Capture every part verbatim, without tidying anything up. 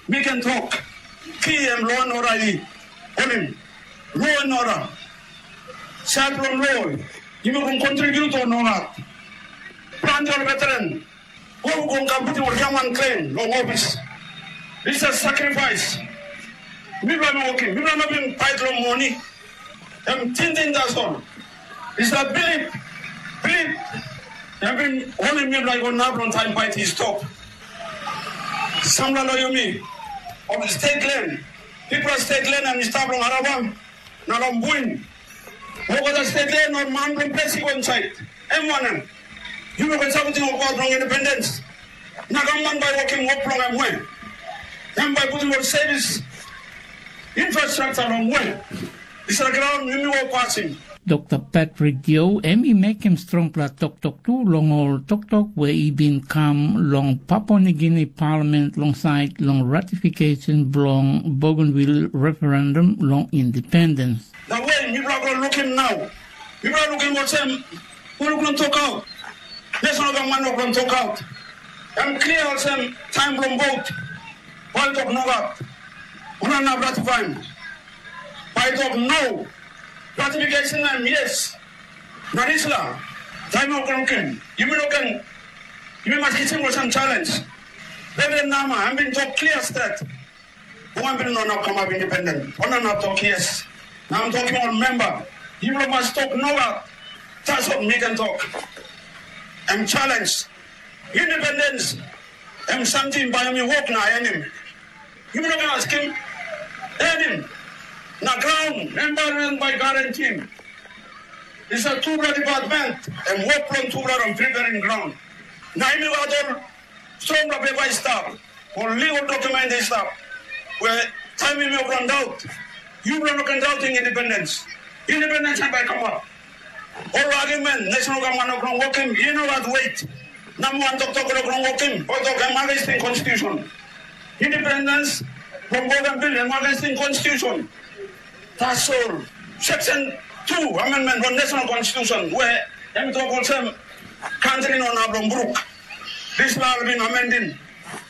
Mi ken tok, ki em lo and order i holim. Lo and order. Sait bilong lo, yumi ken kontribut o nogat? Planti ol veteran, ol ken kam putim ol giaman klen long ofis. It's a sacrifice. Mipela mi wokim, mipela no bin pait long moni. Em tingting tasol. It's a bilip, bilip. Em bin holim mipela i go nap long taim pait i stop. Sampela lo yumi, ol stet len, bikpela stet len em i stap long Araba, na long Buin. Olgeta stet len ol man bilong ples i go insait. Em wanem? Yumi ken sapotim ol wok bilong independens. Na gavman bai wokim wok bilong em we? Em bai putim ol sevis infrastruktur long we? Dispela graun yumi wok pasim. Dokta Patrick Dio em i mekim strongpela toktok tu long ol toktok we i bin kam long Papua Nigini Palament long sait long ratification bilong Bougainville referendum long independence. Na we mipela go lukim nau, mipela lukim olsem, wok bilong tokaut, dispela gavman wok bilong tokaut, em klia olsem taim bilong vot, bai tok nogat, ol inap ratifaim. Bai tok no, ratification na em yes. Na dispela taim ol ken lukim, yumi no ken, yumi mas kisim olsem challenge. Reverend Nama, em bin tok klia stret, Bougainville no inap kamap independent. Ol no inap tok yes. Na em tokim ol memba, yupela mas tok nogat. Tasol mi ken tok, em challenge. Independence em samting bai em i wok na enim. Yupela ken askim, enim. Na graun, environment bai garantim. Dispela tupela department, em wok bilong tupela long preparing graun. Na em i gat ol strongpela pepa i stap, ol legal document i stap, we taim em i run daut, yupela no ken dautim independens. Independens em bai kamap. Ol argument, national government no ken wokim, i no gat wet. Namba wan toktok no ken wokim, o tok em against constitution. Independence from Bougainville em against constitution. Tasol, section two amendment long national constitution, we em tok olsem, kantri no inap long bruk. Dispela ol bin amendim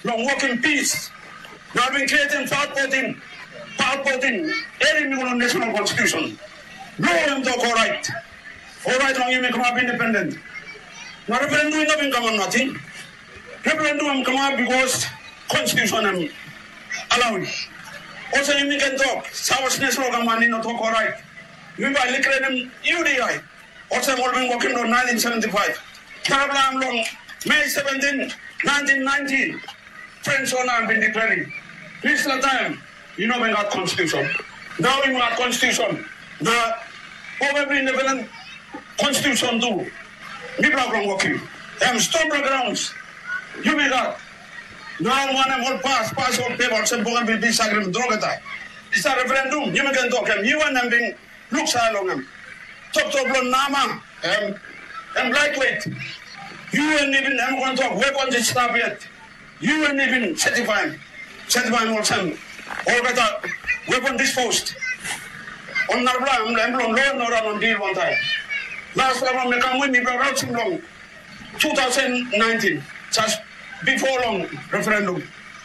long wokim pis. Na ol bin creatim part fourteen, part fourteen, erim i go long national constitution. Lo em tok orait. Orait long yumi kamap independent. Na referendum i no bin kamap nating. Referendum em kamap because constitution em allow. Olsem yumi ken tok, South National Government i no tok orait. Yumi bai likrenim U D I. Olsem ol bin wokim long nineteen seventy-five. Tarapela em long May seventeen, nineteen ninety, French ona bin declaring. Dispela taim, i no bin gat constitution. Nau i gat constitution. Na Bougainville independent constitution tu. Mipela bilong wokim. Em stone grounds. Yumi gat. Nau wanem ol pas, pas ol pepa olsem Bougainville peace agreement olgeta. Dispela referendum, yumi ken tok em, U N em bin luksave long em. Toktok bilong Nama, em, em lightweight. U N i bin em wan tok weapons i stap yet. U N i bin certify, certify olsem, olgeta weapon disposed. Ol narapela em, em bilong lo no raun dil wantaim. Last long mekam win i bilong rausim long two thousand nineteen, just before long referendum.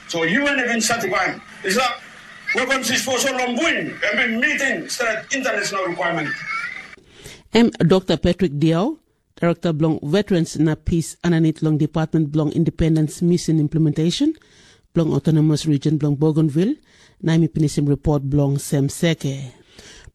So U N i bin certify. Is that weapons disposal long Buin, em bin meeting stret international requirement. Em Dokta Patrick Diau, Direkta bilong Veterans na Pis aninit long Department bilong Independence Mission Implementation bilong Autonomous Region bilong Bougainville, na em i pinisim ripot bilong Sem Seke.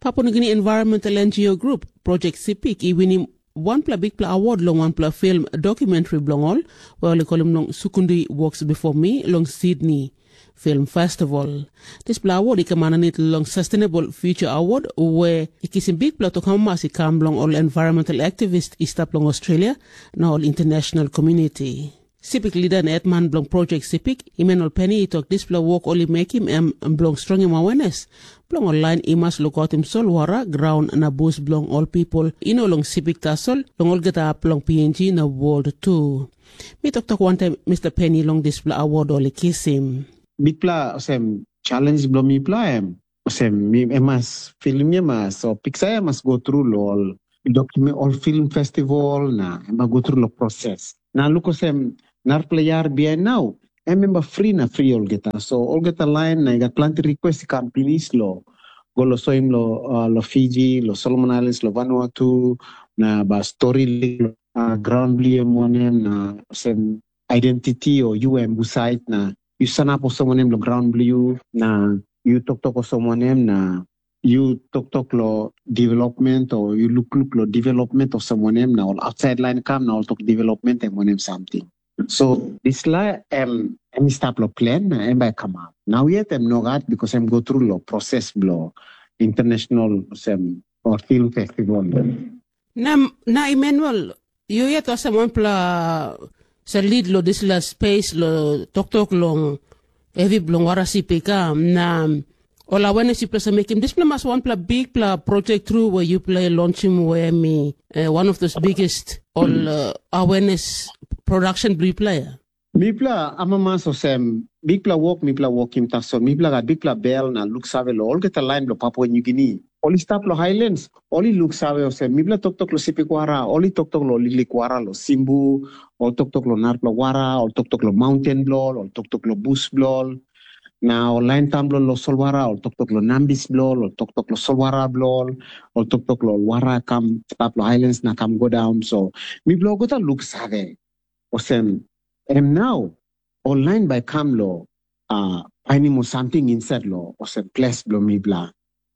Papua Nugini Environmental N G O Group, Project Sipik, i winim wanpela bikpela award long wanpela film dokumentri bilong ol, we ol i kolim long Sukundi Walks Before Me long Sydney Film Festival. Dispela award i kam aninit long Sustainable Future Award, we i kisim bikpela tok amamas i kam long ol environmental activist i stap long Australia na ol international community. Sipik lida na hetman bilong Project Sipik, Emmanuel Penny, i tok dispela wok ol i mekim em bilong strongim awenes bilong ol lain i mas lukautim solwara, graun na bus bilong ol pipel i no long Sipik tasol, long olgeta hap bilong P N G na wol tu. Mi toktok wantaim Mr. Penny long dispela award ol i kisim. Bikpela olsem challenge bilong mipela em olsem, mi, em mas, film ya mas, o piksa ya mas go tru long ol document, ol film festival, na em mas go tru long proses. Na luk olsem, narapela yar bihain nau, em memba fri na fri olgeta. So olgeta lain na i gat planti request i kam pinis lo go lo soim lo uh, lo Fiji, lo Solomon Islands, lo Vanuatu, na ba story lo uh, ground bilong em wanem na sem identity o yu em husait na yu sanap olsem wanem lo ground bilong yu na yu toktok olsem wanem na yu toktok lo development o yu lukluk lo development olsem wanem na ol outside line kam na ol tok development em wanem something. So dispela em em i stap lo plan na em bai kamap. Nau yet em nogat because em go tru lo proses bilong international sem or film festival. Na, na Emmanuel, yu yet olsem wanpela sa lead lo dispela space lo toktok long hevi bilong wara sip i kam na ol awareness yupela sa mekim dispela mas wanpela bikpela project tru we yupela i launchim we em i uh, one of those biggest ol uh, awareness production bilong yupela ya. Mipela amamas olsem bikpela wok mipela wokim tasol mipela gat bikpela bel na luksave long olgeta lain bilong Papua Nugini. Ol i stap long Highlands, ol i luksave olsem mipela toktok long sipikwara, ol i toktok long liklikwara, long simbu, ol toktok long narapela wara, ol toktok long maunten bilong ol, ol toktok long bus bilong ol. Na ol lain taun bilong ol solwara, ol toktok long nambis bilong ol, ol toktok long solwara bilong ol, ol toktok long ol wara kam stap long Highlands na kam go daun. So mipela olgeta luksave olsem em nau ol lain bai kam long uh, painim ol samting insait long olsem ples bilong mipela,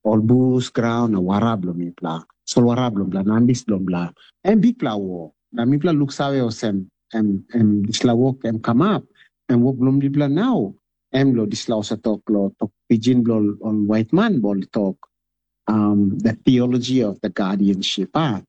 ol bus, graun na wara bilong mipela, solwara bilong mipela, nambis bilong mipela, em bikpela wok. Na mipela luksave olsem em, em dispela wok em kamap, em wok bilong mipela nau, em long dispela olsem tok long tok pijin bilong ol waitman ol tok um, the theology of the guardianship. Ah.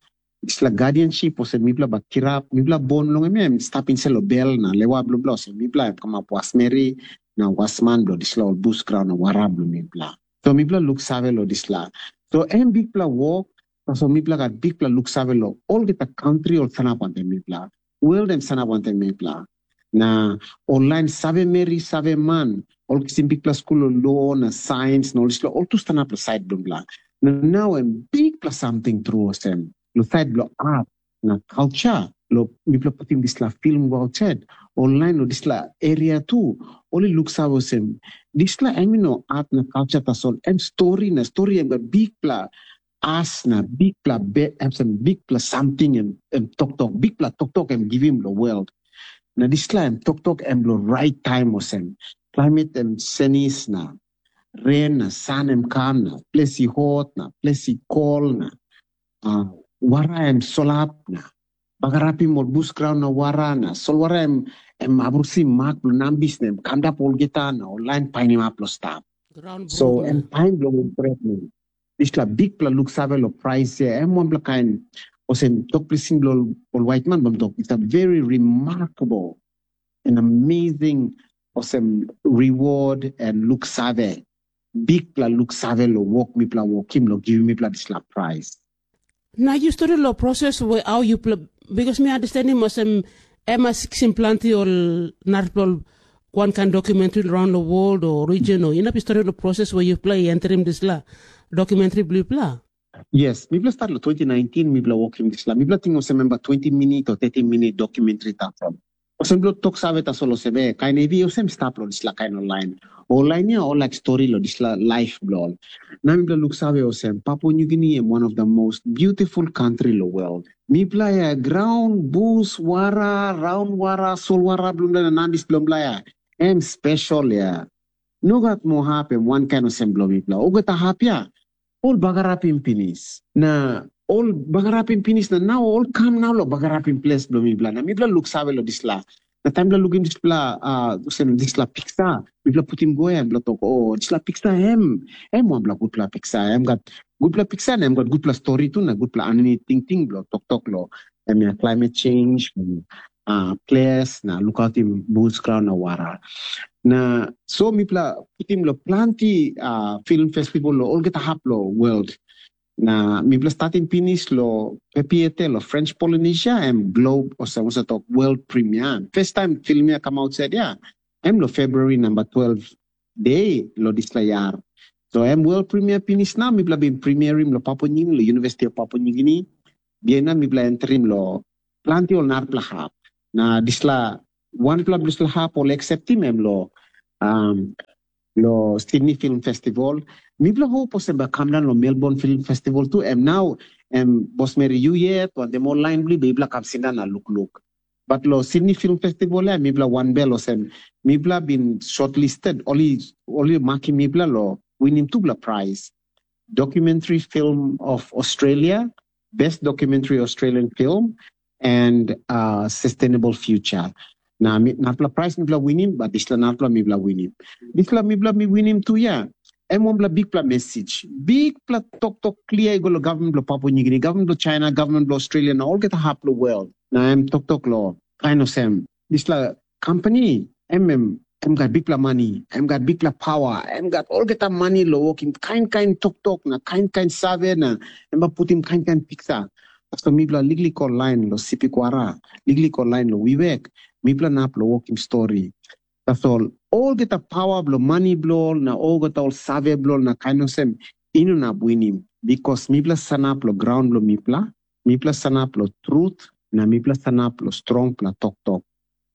Dispela guardianship olsem mipela bai kirap, mipela bon long em em stap insait lo bel na lewa bilong bla olsem mipela em kamap wasmeri na wasman bilong dispela ol bus graun na wara bilong mipela. So mipela luksave lo dispela. So em bikpela wok, tasol mipela gat bikpela luksave lo olgeta kantri ol sanap wantaim mipela. World em sanap wantaim mipela. Na ol lain save meri, save man, ol kisim bikpela skul long lo na sains na ol dispela ol tu stanap long sait bilong bla. Na nau em bikpela samting tru olsem, long sait bilong art na culture, lo mipela putim dispela film go outside, ol lain lo dispela area tu, ol i luksave olsem, dispela em i no art na culture tasol, em stori na stori em gat bikpela as na bikpela be em sem bikpela samting em, em toktok, bikpela toktok em givim long world. Na dispela em toktok em long rait taim olsem, climate em senis na ren na san em kam na ples i hot na ples i kol na uh, wara em solap na bagarapim ol bus graun na wara na solwara em em abrusim mak bilong nambis na em kamdap olgeta na ol lain painimap long stap. So em taim bilong em pret mi. Dispela bikpela luksave long prais ya em wanpela kain olsem tok plising bilong ol waitman bilong tok it's a very remarkable and amazing olsem reward and luksave, bikpela luksave long wok mipela wokim long givim mipela dispela prais. Na yu stori long proses we au yupela, bikos mi understandim olsem em a siksim planti ol narapela ol wankain dokumentri raun long wol o region o inap yu stori long proses we yupela i entrim dispela dokumentri bilong yupela. Yes, mipela start long twenty nineteen mipela wokim dispela. Mipela ting olsem memba twenty minit o thirty minit dokumentri tasol. Olsem bilong tok save tasol olsem e kain hevi olsem stap long dispela kain ol lain. Ol lain ya ol laik stori long dispela laif bilong ol. Na mipela luksave olsem Papua New Guinea em one of the most beautiful country long world. Mipela ya graun, bus, wara, raun wara, solwara bilong na nandis bilong ya. Em spesol ya. No gat moa hap em wankain olsem bilong mipela. Olgeta hap ya, ol bagarapim pinis. Na ol bagarapim pinis na nau ol kam nau long bagarapim ples bilong mipela. Na mipela luksave long dispela. Na taim mipela lukim dispela uh, olsem dispela piksa, mipela putim go em bilong tok, o oh, dispela piksa em, em wanpela gutpela piksa. Em gat gutpela piksa na em gat gutpela stori tu na gutpela aninit tingting bilong toktok long em ya climate change, uh, ples na lukautim bus graun na wara. Na so mipela putim lo planti uh, film festival lo olgeta hap lo world. Na mipela statim pinis lo Pepiete lo French Polynesia em Globe olsem olsem tok world premiere. First time film ya come outside ya em lo February number twelve day lo dispela yar. So em world premiere pinis na mipela bin premierim lo Papua New Guinea lo University of Papua New Guinea. Bihain na mipela entrim lo planti ol narapela hap. Na dispela wanpela bilong dispela hap ol acceptim em lo um, lo Sydney Film Festival. Mipela hope olsem bai kam daun lo Melbourne Film Festival tu. Em nau em bosmeri yu yet, wantaim ol lain bli, mipela kam sindaun na lukluk. But lo Sydney Film Festival ya, mipela wanbel olsem, mipela bin shortlisted, oli oli makim mipela lo winim tupela prize. Documentary Film of Australia, Best Documentary Australian Film, and uh, Sustainable Future. Na mi- narapela prize mipela winim, but dispela narapela mipela winim. Dispela mipela mi winim tu ya. Em wanpela bikpela message. Bikpela toktok clear i go lo government lo Papua New Guinea, government lo China, government lo Australia, na olgeta hap lo world. Na em toktok lo kain olsem, dispela company, em em em gat bikpela mani, em gat bikpela pawa, em gat olgeta mani lo wokim kain kain toktok na kain kain save na em bai putim kain kain piksa. Tasol mipela liklik ol lain lo Sipikwara, liklik ol lain lo Wewak, mipela nap lo wokim stori. Tasol olgeta pawa bilong mani bilong ol na olgeta ol save bilong ol na kain olsem, i no inap winim, bikos mipela sanap long graun bilong mipela, mipela sanap long trut, na mipela sanap long strongpela toktok.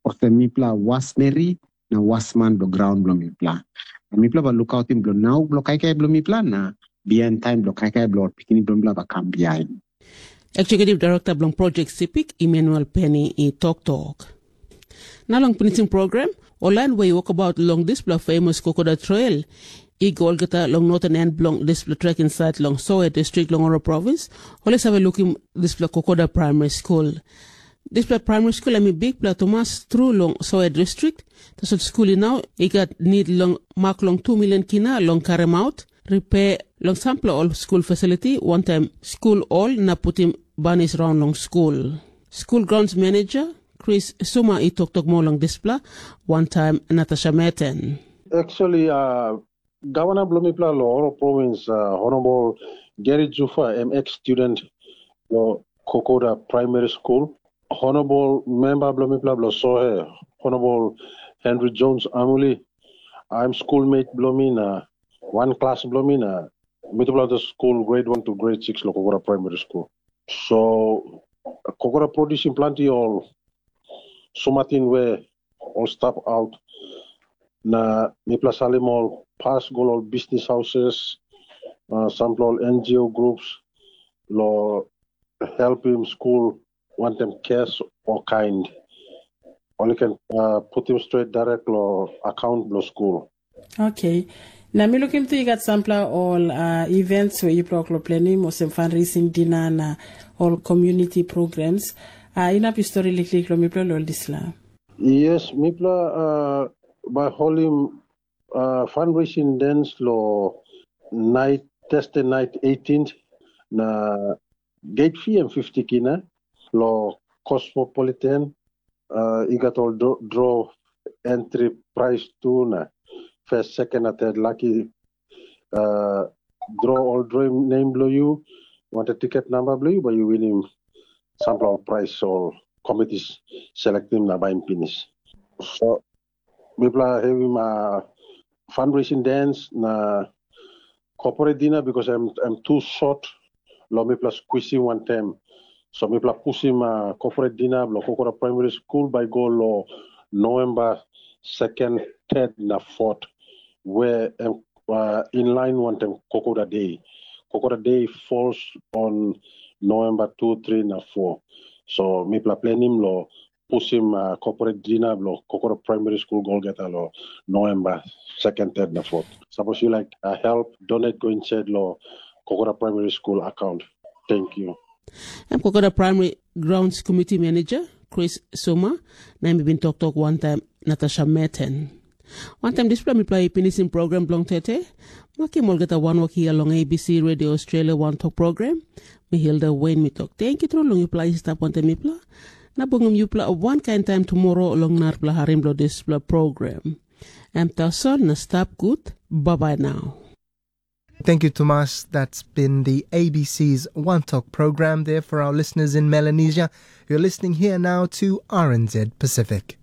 Olsem mipela wasmeri na wasman bilong graun bilong mipela. Na mipela bai lukautim bilong nau bilong kaikai bilong mipela na bihain taim bilong kaikai bilong ol pikinini bilong mipela bai kam bihain. Executive Director bilong Project Sipik, Emmanuel Penny, i toktok. Na long pinisim program, ol lain we i wokabaut long dispela famous Kokoda Trail i go olgeta long northern end bilong dispela trek insait long Soe distrik long Oro provins, ol i save lukim dispela Kokoda Primary School. Dispela primary school em i bikpela tumas tru long Soe distrik, tasol skul i nau i gat nid long mak long tu milion kina long karim aut, ripe long sampela ol skul fasiliti, wantaim skul ol na putim banis raun long skul. Skul grounds manager Chris Suma i toktok moa long dispela, wantaim Natasha Meten. Actually, uh, Gavana bilong mipela long Oro Province, uh, Honorable Gary Jufa, em ex-student long Kokoda Primary School. Honorable member bilong mipela bilong Sohe, Honorable Henry Jones Amuli, I'm schoolmate bilong mi na one class bilong mi na mitupela to school grade one to grade six long Kokoda Primary School. So Kokoda producing planti ol sumatin we ol stap aut na mipela salim ol pas go long ol business houses, uh, sampela ol N G O groups long helpim skul wantaim cash o kind. Ol i ken uh, putim stret direct long account bilong skul. Okay. Na mi lukim tu i gat sampela ol uh, events we yupela ol plenim olsem fundraising dinner na ol community programs. Uh, inap yu stori liklik long mipela ol disla. Yes, mipela uh, by holim uh, fundraising dance lo night Thursday night eighteenth na gate fee em fifty kina lo Cosmopolitan uh, i gat ol draw, draw entry price tu na first, second na third lucky uh, draw ol draw name bilong yu, wanted ticket number bilong yu, bai yu winim sampela ol price ol committees selectim na baim pinis. So mipela havim uh, fundraising dance na corporate dinner because I'm, I'm too short lo mipela squeezing one time. So mipela pusim uh, corporate dinner lo Kokora Primary School by go lo November second, third na fourth, where um, uh, in line one time Kokora Day. Kokora Day falls on November two, three na four. So mipela planning lo pusim uh, corporate dinner lo Kokora Primary School Golgeta lo November second, third na fourth. Suppose you like uh, help, donate go inside lo Kokora Primary School account. Thank you. Em Kokora Primary Grounds Committee Manager Chris Suma, na em i bin toktok wantaim Natasha Meten. Wantaim dispela mipela i pinisim program bilong tete, makim olgeta wanwok hia long A B C Radio Australia wantok program. Mi Hilda Wayne mi tok tenkyu tru long yupela i stap wantaim mipela, na bungim yupela wankain taim tumora long narapela harim bilong dispela program. Em tasol na stap gut, babai nau. Thank you, Tomas. That's been the A B C's One Talk program there for our listeners in Melanesia. You're listening here now to R N Z Pacific.